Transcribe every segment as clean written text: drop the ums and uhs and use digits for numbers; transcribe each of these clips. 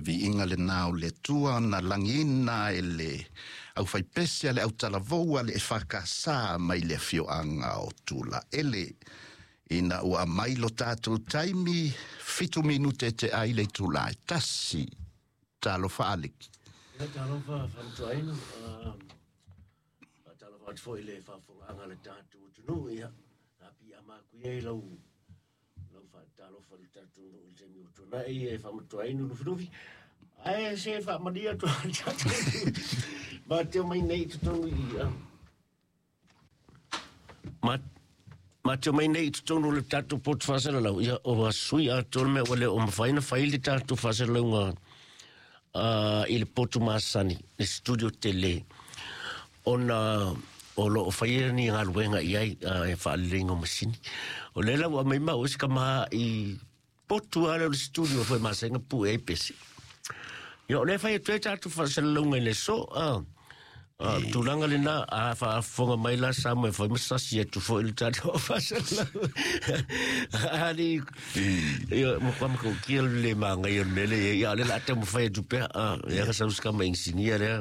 Le viiga lenā o le Atua na lagiina e le aufaipese a le autalavou a le EFKS mai le afioaga o Tulaele. Ina ua aumai lo tatou taimi, 7 minute te ai le itulā e 1. Talofa Aleki. Ia, talofa faamatuainu. Faatalofa atu foi i le faafofogaaga a le tatou atunuu. Ia, sa piiama atu ia i lau faatalofa i le tatou nuu i le taimi ua tuanai e faamatuainu Lufilufi. Ae se faamalia atu le tatou ma te mai nei i totonu i ma te mai nei i totonu o le tatou poto faasalalau. Ia, o sui atoa le mea ua le o mafai ona fai le tatou faasalalauga i le potu masani, le studio tele, ona o lo o faia ni galuega i ai e faaleleiga o masini. O lea la ua aumai ma o se kama i potu lava lea o le studio foi masani pue ai pese. Ia, o lea fai atu ai tatou faasalalauga i le aso. Tulaga lena a faafofoga mai la sa mo e fai ma sasi atu foi le tatou faasalalau ali. Ia, mo kwa mako kia le magai o le mele ia le la taumafai atu pea. Ia ka sau ska ma insinia lea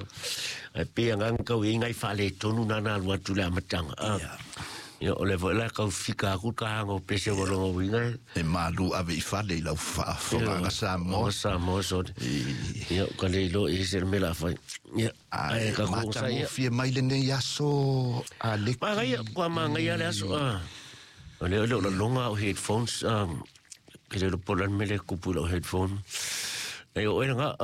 ai pe anga kau i ngai fale tonu na na alu atu le amataga. Ia, o le foi la kau fika aku ka hanga o pese o longa uiga. E malu ave i fale i lau faafofogaga Samoa. Samoa so. Ia, ka le ilo i se mea la fai. Ia, ai ka ko sa ia. Matagofie mai lenei aso, Aleki. Magaia, kua magaia le aso. O le o le longa o headphones, ke le po lan mele kupu lo headphone. E o nga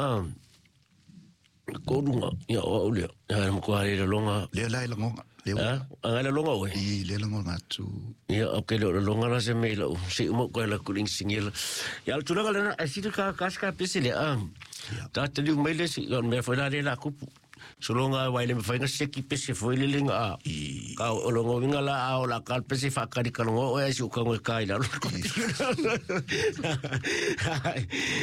ko lunga ia o le ya mo ko le longa. Lea la e lagoga. Lea. A le longa oe. I lea lagoga atu. Ia, o ke le longa la se me lo se mo ko la kuling singil. Ia, le tulaga lena e sila ka ka ka pese le ta te liu mai le si o me foi la le la kupu. Solonga wai le mawhai nga seki pese foi le lenga a. Ka o longo winga la a o la ka pese whakari ka longo o e si uka ngoe kai la.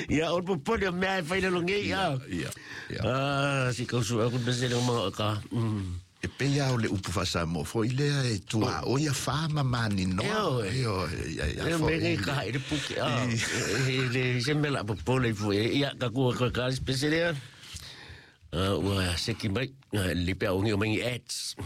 Ia, o popole o mea e whai le longe ia. Ia, ia. Ah, si kausu aku pese le mga ka. E pei o le upu faasamoa foi lea e tua o ia wha mamani noa. Io, ia, ia, E foi. Me ngai ka haere puke a. E le se me la popole i fue. Ia, ka kua ka ka pese lea. Ua seki mai, le pea o ngi o mangi ads.